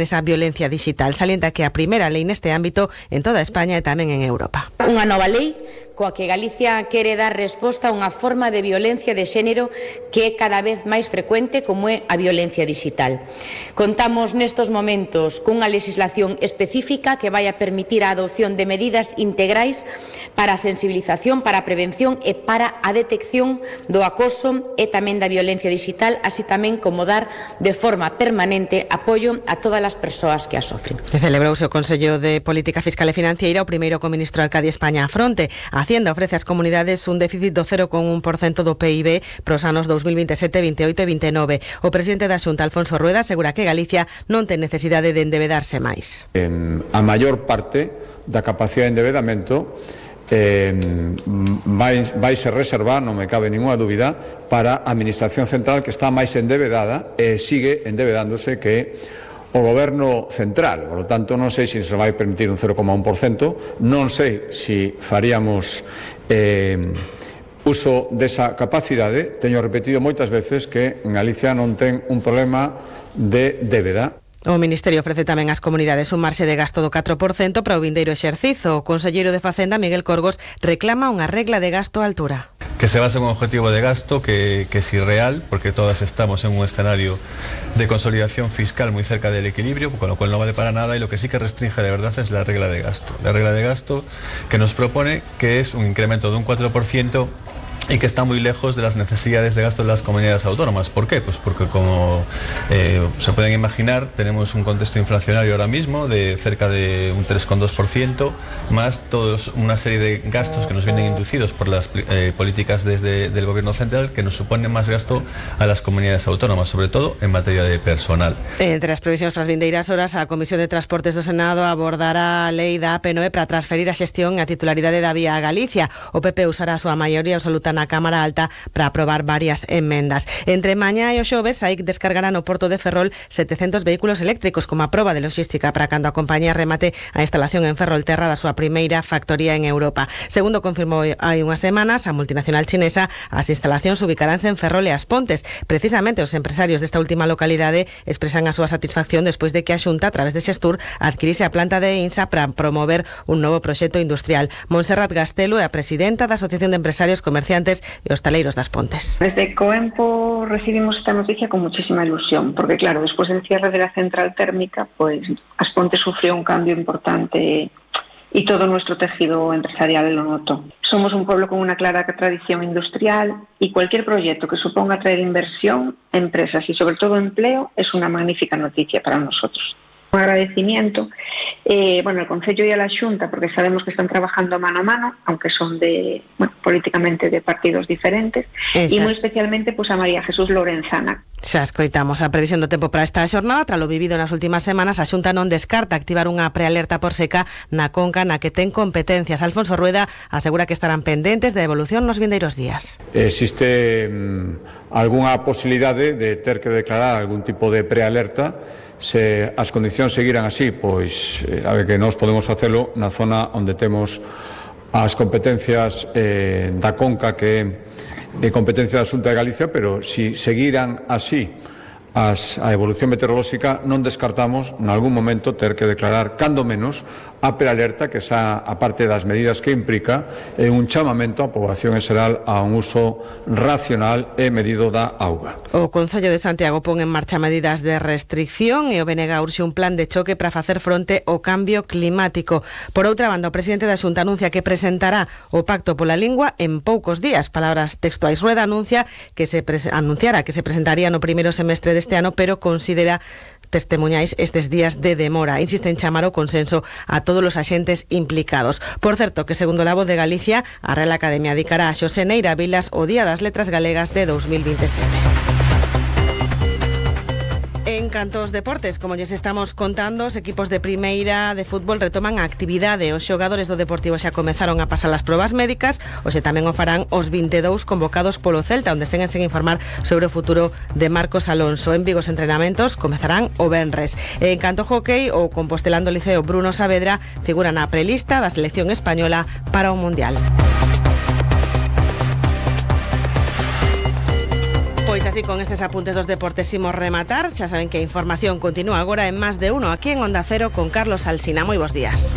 esa violencia digital. Salienta que a primeira lei neste ámbito en toda España e tamén en Europa. Unha nova lei coa que Galicia quere dar resposta a unha forma de violencia de xénero que é cada vez máis frecuente, como é a violencia digital. Contamos nestos momentos cunha legislación específica que vai a permitir a adopción de medidas integrais para a sensibilización, para a prevención e para a detección do acoso e tamén da violencia digital, así tamén como dar de forma permanente apoio a todas as persoas que a sofren. Celebrouse o Consello de Política Fiscal e Financiera, o primeiro co ministro Arcadio España á fronte. A Hacienda ofrece ás comunidades un déficit do 0,1% do PIB para os anos 2027, 28 e 29. O presidente da Xunta, Alfonso Rueda, asegura que Galicia non ten necesidade de endebedarse máis. A maior parte da capacidade de endebedamento vai se reservar, non me cabe ninguna dúbida, para a Administración Central, que está máis endebedada e sigue endebedándose que o Goberno Central. Por lo tanto, non sei se vai permitir un 0,1%, non sei se faríamos uso desa capacidade. Teño repetido moitas veces que en Galicia non ten un problema de débeda. O Ministerio ofrece tamén ás comunidades un marxe de gasto do 4% para o vindeiro exercizo. O conselleiro de Facenda, Miguel Corgos, reclama unha regla de gasto a altura. Que se base en un objetivo de gasto que es irreal, porque todas estamos en un escenario de consolidación fiscal muy cerca del equilibrio, con lo cual no vale para nada, y lo que sí que restringe de verdad es la regla de gasto. La regla de gasto que nos propone que es un incremento de un 4%, y que está muy lejos de las necesidades de gasto de las comunidades autónomas. ¿Por qué? Pues porque, como se pueden imaginar, tenemos un contexto inflacionario ahora mismo de cerca de un 3,2%, más todos una serie de gastos que nos vienen inducidos por las políticas del Gobierno Central, que nos suponen más gasto a las comunidades autónomas, sobre todo en materia de personal. Entre as previsións para as vindeiras horas, a Comisión de Transportes do Senado abordará a lei da AP9 para transferir a xestión e a titularidade da vía a Galicia. O PP usará a súa maioría absoluta na Cámara Alta para aprobar varias enmendas. Entre mañá e o xoves, SAIC descargará no Porto de Ferrol 700 vehículos eléctricos como a proba de logística para cando a compañía remate a instalación en Ferrolterra da súa primeira factoría en Europa. Segundo confirmou hai unhas semanas a multinacional chinesa, as instalacións ubicaránse en Ferrol e As Pontes. Precisamente os empresarios desta última localidade expresan a súa satisfacción despois de que a Xunta, a través de Xestur, adquirise a planta de INSA para promover un novo proxecto industrial. Montserrat Gastelo é a presidenta da Asociación de Empresarios, Comerciantes e Hostaleiros das Pontes. Desde Coempo recibimos esta noticia con muchísima ilusión, porque claro, después del cierre de la central térmica, pues As Pontes sufrió un cambio importante y todo nuestro tejido empresarial lo notó. Somos un pueblo con una clara tradición industrial y cualquier proyecto que suponga traer inversión, empresas y sobre todo empleo es una magnífica noticia para nosotros. Un agradecimiento, al Concello y a la Xunta, porque sabemos que están trabajando mano a mano, aunque son políticamente de partidos diferentes, e moi especialmente a María Jesús Lorenzana. Xa escoitamos a previsión do tempo para esta xornada. Tras lo vivido nas últimas semanas, a Xunta non descarta activar unha prealerta por seca na conca na que ten competencias. Alfonso Rueda asegura que estarán pendentes de evolución nos vindeiros días. Existe algunha posibilidade de ter que declarar algún tipo de prealerta. Se as condicións seguiran así, pois a ver que nós podemos facelo na zona onde temos as competencias da conca, que é competencia da Xunta de Galicia, pero se seguiran así a evolución meteorolóxica, non descartamos en algún momento ter que declarar, cando menos, a prealerta, que xa, a parte das medidas que implica, é un chamamento á poboación en xeral a un uso racional e medido da auga. O Concello de Santiago pon en marcha medidas de restricción e o BNG urxe un plan de choque para facer fronte ao cambio climático. Por outra banda, o presidente da Xunta anuncia que presentará o Pacto pola Lingua en poucos días. Palabras textuais. Rueda anunciara que se presentaría no primeiro semestre deste ano, pero considera testemuñais estes días de demora. Insiste en chamar o consenso a todos os axentes implicados. Por certo, que segundo La Voz de Galicia, a Real Academia dedicará a Xosé Neira Vilas o Día das Letras Galegas de 2027. En canto aos deportes, como lles estamos contando, os equipos de primeira de fútbol retoman a actividade. Os xogadores do Deportivo xa comezaron a pasar as probas médicas, hoxe tamén o farán os 22 convocados polo Celta, onde estén sen informar sobre o futuro de Marcos Alonso. En Vigo os entrenamentos comezarán o venres. En canto ao hockey, o compostelando Liceo Bruno Saavedra figura na prelista da selección española para o Mundial. Pois así con estes apuntes dos deportes imos rematar. Xa saben que a información continúa agora en Más de Uno, aquí en Onda Cero con Carlos Alsina. Moi bons días.